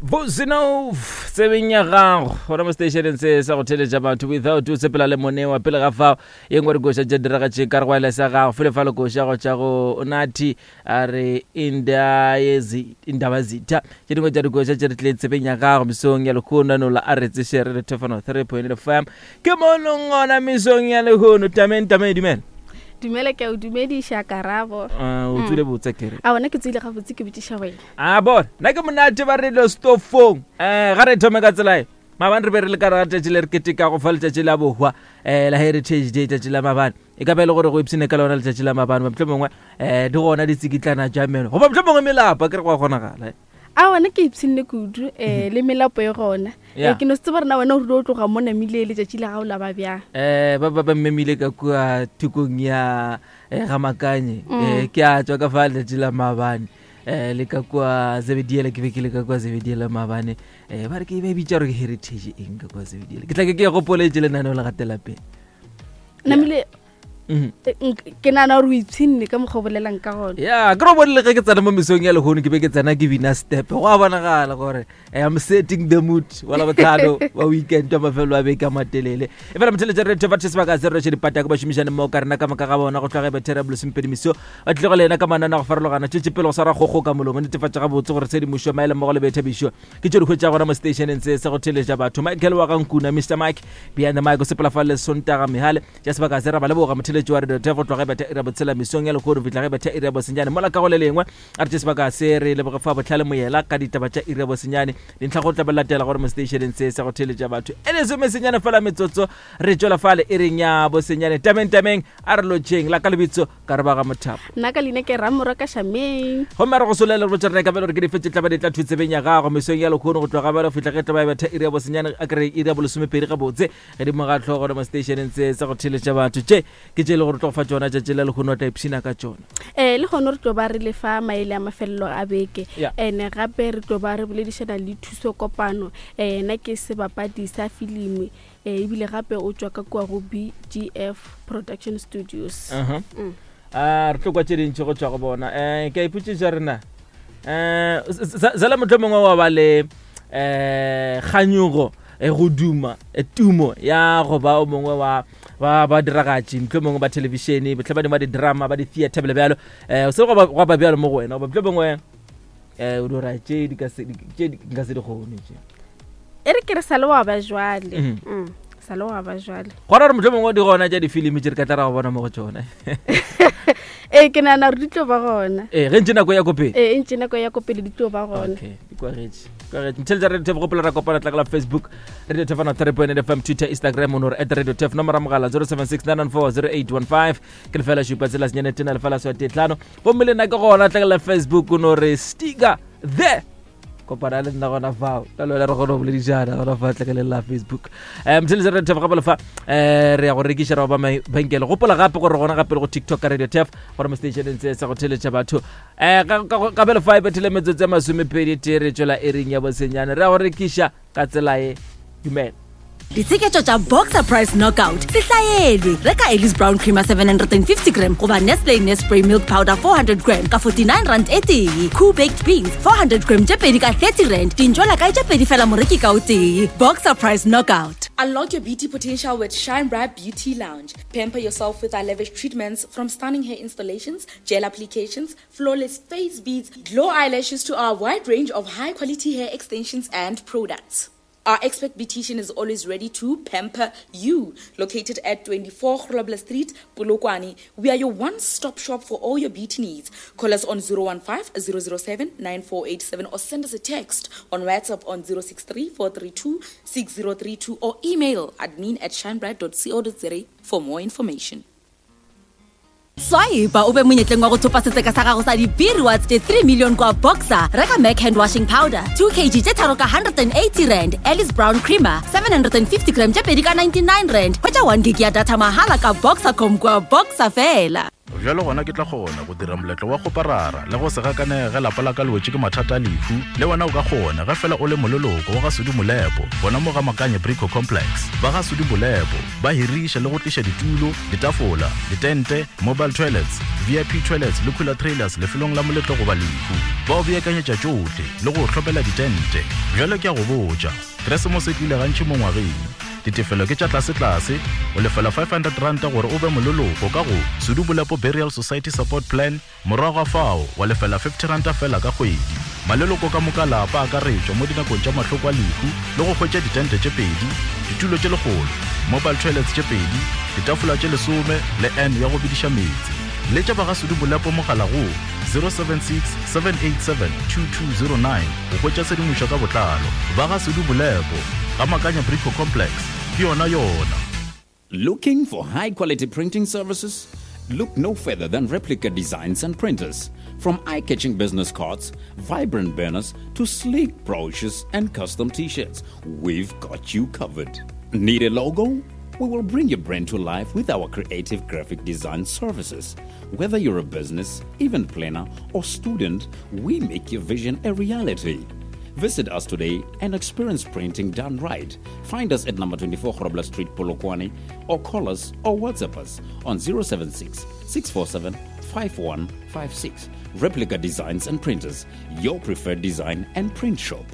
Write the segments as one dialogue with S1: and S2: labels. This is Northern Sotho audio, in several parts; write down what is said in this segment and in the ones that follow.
S1: Bozinov tsebeng ya gago gona mo stationeng se sa go theletša batho without o sepela le monewa pele ga fao ye nngwe re koša tša diragatše ka re go ela sa gago fele fa le koša go tša go nathi a re indaba zitha tše dingwe tša dikoša tše re tlile tsebeng ya gago mesong ya lehono nola a re tseše re re thefano 3.8 fm ke mo leng gona mesong ya lehono tameng tameng dumela
S2: dumela ke a o dumediša karabo
S1: Ah, o tswile botse kere
S2: a bona ke tswile gabotse ke botšiša wena
S1: a bona nna ke monate ba radio stofong um ga re thome ka tsela e maabane re be re le ka rata tšatši le re ketekago fa letšatši la bohwa um la heritage day tšatši la maabane e ka ba e le gore go ipsene ka lona letšatši la maabane motlho mongwe um di gona ditsikitlana ja meno goba motlho mongwe melapa ke re go a kgonagala eh.
S2: A wena ke ipshinne kudu um le melapo e gona.
S1: Yeah.
S2: Eh, ke no se tseba rena wena o rile o tloga mo namile letšatši la gago la ba bjang.
S1: um ba ba ba mmemile ka kua thokong ya eh, ga makanye um ke a tswa ka fa letšatši la maabane um le ka kua zebediela ke be ke le ka kua zebediela maabane um ba re ke ba e bitša gore ke heritage eng ka kua zebediela ke tla ke ke e gopoletše lenaneo la gatela pele
S2: Namile
S1: Mhm.
S2: eh, ke nagana gore o ipshinne ka mokgwa o bolelang ka gona.
S1: Ya ke ro bonele ge ke tsena mo mesong ya lehono ke be ke tsena ke bina step go a bonagala gore eh, I'm setting the mood wa labotlhano wa weekend wa mafelo a beke a matelele e fela motheletša re thefa sebaka se re roše dipatako ba šomišane mmogo ka rena ka moka ga bona go tlhoge bethere bolesomepedi meso ba tlile go le ena ka manane a go farologana tšwetše pele go swara kgokgo ka molomo netefatša gabotse gore tshedimošo maele mmogo le boithabišo ke tšo di hwetša gona mo stationeng se sa go theletša batho michael wa gankuna mr mike behind the mic o sepela fa le sontaga mehale tša sebaka se ra ba leboga motheletši wa radio go tloga betha ira botshela mesong ya lehono fihla ge betha ira bosenyane mola ka go le lengwe a re tše sebaka se re leboge fa botlhale moyela ka ditaba tša ira bosenyane dintlha go tla ba latela gore mo stationeng se sa go theletša batho e lesomesenyane fela metsotso re tšwela fale e reng ya bosenyane tameng tameng a re lotšheng la ka lebitso ka re ba ga mothapo
S2: Nna ka leina ke Ramorwa ka Shameng.
S1: Gomme a re go solela re botša rena ka bjalo gore ke dife tše tla ba di tla thwitsebeng ya gago mesong ya lekgono go tloga bjalo fihla ge tla ba e betha iri ya bosenyane a kere iri ya bolesomepedi gabotse gedimo ga hlogo le mo stationeng se sa go theletša batho tše ke tše e le gore tlo go fa tšona tšatši la lekgono wa tla ipshina ka tšona.
S2: Um le gona re tlo ba re lefa maele a mafelelo a beke
S1: Yeah.
S2: ene gape re tlo ba re boledišana le Thuso Kopano eh, yena ke sebapadi sa filimi eh, ebile gape o tšwa ka kua go BGF Production Studios.
S1: Uh-huh.
S2: Mm.
S1: A re tlo kwa tše dintši go tšwa go bona um ke a ipotšiša rena um zela motlho mongwe wa ba le um kganyogo eh, go duma eh, tumo ya go ba o mongwe wa ba ba diragatši motlho mongwe ba thelebišene botlhe ba dingwe ba di-drama ba di-theatre bjalo bjalo um se gwa ba bjalo mo go wena goba motlho mongwe um o dira tše di ka se tše di- nka se di kgone tše
S2: E re ke re sa le wa ba jwale.
S1: Mhm.
S2: Mm, sa le wa ba jwale.
S1: gona gore motlho mongwe di gona tša difilimi tše re ka tla ra go bona mo go tšona
S2: Ee ke nagana gore di tlo ba gona.
S1: ee ge ntše nako ya ko pele
S2: Ee e ntše nako ya ko pele di tlo ba gona.
S1: Okay, di kwagetše kwagetše mtheletša radio tef gopola ra kopana tlakala facebook radio tef ana 3.8 fm twitter instagram o no re at radio tef nomoro ya mogala 0769940815 ke lefela šupa tsela senyane tena lefela swa tetlano gomme le nna ke gona tlakala facebook o no re stiga the kopana le nna gona fao ka lona re kgone go boledišana gona fa tlakeleng la facebook um mtheletša radio tef gape lefa um re ya go rekiša ra go ba mabenkele gopola gape gore gona gape le go tiktok ka radio tef gore mo stationeng se sa go theletša batho um ka bele fa e bethile metsotso ya masomepedi tee re tšwela ering ya bosenyane re ya go rekiša ka tsela e dumela
S3: Ditsheketšo tša Boxer Price Knockout se hlaelwe. Reka Ellis Brown Creamer 750 gram goba Nestle Nespray Milk Powder 400 gram ka 49 rand e tee. Koo Baked Beans 400 gram tše pedi ka 30 rand. Dintšwela kae tše pedi fela moreki ka o tee. Boxer Price Knockout.
S4: Unlock your beauty potential with Shine Bright Beauty Lounge. Pamper yourself with our lavish treatments from stunning hair installations, gel applications, flawless face beads, glow eyelashes to our wide range of high quality hair extensions and products. Our expert beautician is always ready to pamper you. Located at 24 Grobler Street, Polokwane, we are your one-stop shop for all your beauty needs. Call us on 015 007 9487 or send us a text on WhatsApp on 063 432 6032 or email admin at shinebright.co.za for more information.
S3: Swipe o be monyetleng wa go thopa setseka sa gago sa di-B-rewards tše 3 million kwa Boxer. Reka Mac hand washing powder 2 kg tše tharo ka 180 rand, Alice Brown creamer 750 gram tše pedi ka 99 rand. Hwetša 1 gig ya data mahala ka Boxercom kwa Boxer fela.
S5: Bjalo gona ke tla kgona go dira moletlo wa kgoparara le go se gakanege ge lapa la ka le wetše ke mathata a lehu. Le wena o ka kgona ge fela o le moleloko wa ga Sudi Molepo gona mo ga Makanye Brico Complex. Ba ga Sudi Molepo ba hiriša le go tliša ditulo, ditafola, ditente, mobile toilets, VIP toilets le cooler trailers lefelong la moletlo goba lehu. Ba o beakanyetša tšohle le go o hlopela ditente. Bjalo ke a go botša, Keresemose e tlile gantši mo ngwageng. Ditefelo ke tša tlasetlase, o lefela R500 gore o be moleloko ka go Sudu Bolepo Burial Society Support Plan, morago ga fao wa lefela R50 feela ka kgwedi. Maleloko ka moka a lapa a akaretšwa mo dinakong tša mahloko a lehu le go hwetša ditente tše pedi, ditulo tše lekgolo, mobile toilets tše pedi, ditafola tše lesome le urn ya go bediša meetse. Letša ba ga Sudu Bolepo mogala go 076 787 2209 go hwetša tshedimošo ka botlalo. Ba ga Sudu Bolepo, ga Makanya Brico Complex, ke yona yona.
S6: Looking for high quality printing services? Look no further than Replica Designs and Printers. From eye catching business cards, vibrant banners, to sleek brochures and custom t shirts, we've got you covered. Need a logo? We will bring your brand to life with our creative graphic design services. Whether you're a business, event planner, or student, we make your vision a reality. Visit us today and experience printing done right. Find us at number 24 Grobler Street, Polokwane, or call us or WhatsApp us on 076 647 5156. Replica Designs and Printers, your preferred design and print shop.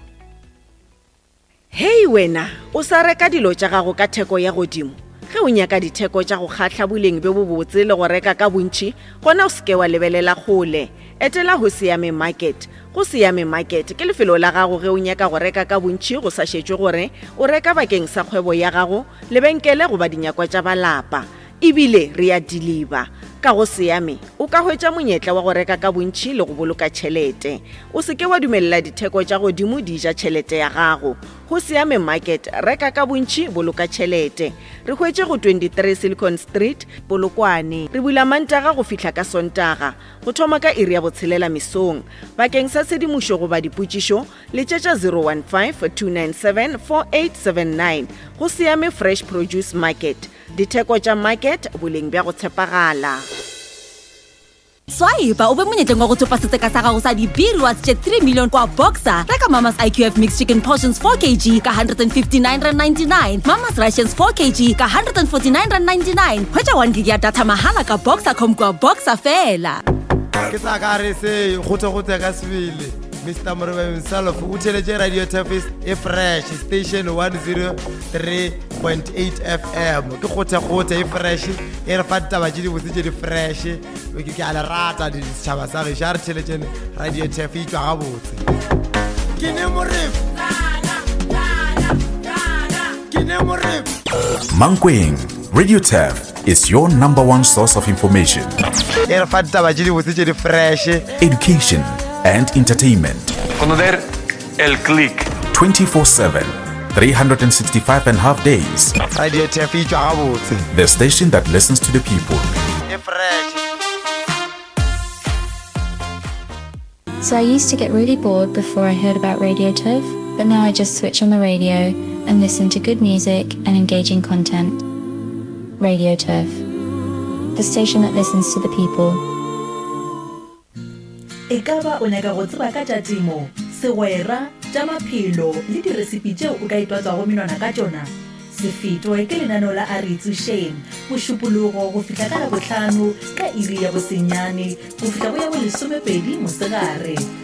S7: Hei wena, o sa reka dilo tša gago ka theko ya godimo? Ge o nyaka ditheko tša go kgahla boleng bjo bobotse le go reka ka bontši, gona o se ke wa lebelela kgole. Etela Hosiame Market. Go Siame Market ke lefelo la gago ge o nyaka go reka ka bontši go sa šetšwe gore o reka bakeng sa kgwebo ya gago, lebenkele goba dinyakwa tša ba lapa. E bile re a diliba. Ka go Siame, o ka hwetša monyetla wa go reka ka bontši le go boloka tšhelete. O se ke wa dumelela ditheko tša godimo di ja tšhelete ya gago. Go Siame Market, reka ka bontši, boloka tšhelete. Re hwetše go 23 Silicon Street, Polokwane. Re bula Mantaga go fihla ka Sontaga, go thoma ka iri ya botshelela mesong. Bakeng sa tshedimošo goba dipotšišo, letšetša 015 297 4879. Go Siame Fresh Produce Market. Ditheko tša market, boleng bja go tshepagala.
S3: Swipa o be monyetleng wa go thopa setseka sa gago sa di-B-rewards tše 3 million kwa Boxer. Reka Mama's IQF Mixed Chicken Portions 4 kg ka R159.99, Mama's Rations 4 kg ka R149.99. Hwetša 1 gig ya data mahala ka Boxercom kwa Boxer fela.
S8: Ke sa ka re se kgothekgothe ka sebele. Mr. Moreba himself o theletše Radio Turfis e fresh station 103.8 FM ke kgothekgothe e fresh e re fa ditaba tše dibotse tše di fresh ke a le rata setšhaba sa gešo a re theletšene Radio Turf e tšwa gabotse ke ne moreba ke ne moreba
S9: Mankweng, Radio Turf is your number one source of information.
S8: E re fa ditaba tše dibotse tše di fresh.
S9: Education and entertainment.
S10: Conocer el click.
S9: 24/7, 365 and half days.
S8: Radio Turf e tšwa gabotse.
S9: The station that listens to the people.
S8: E fresh.
S11: So I used to get really bored before I heard about Radio Turf, but now I just switch on the radio and listen to good music and engaging content. Radio Turf, the station that listens to the people.
S12: E ka ba o nyaka go tseba ka tša temo, segwera, tša maphelo le diresipi tšeo o ka itwatswago menwana ka tšona? Se fetwe ke lenaneo la A Re Itsošeng, Mošupologo go fihla ka Labohlano ka iri ya bosenyane go fihla go ya bolesomepedi mosegare.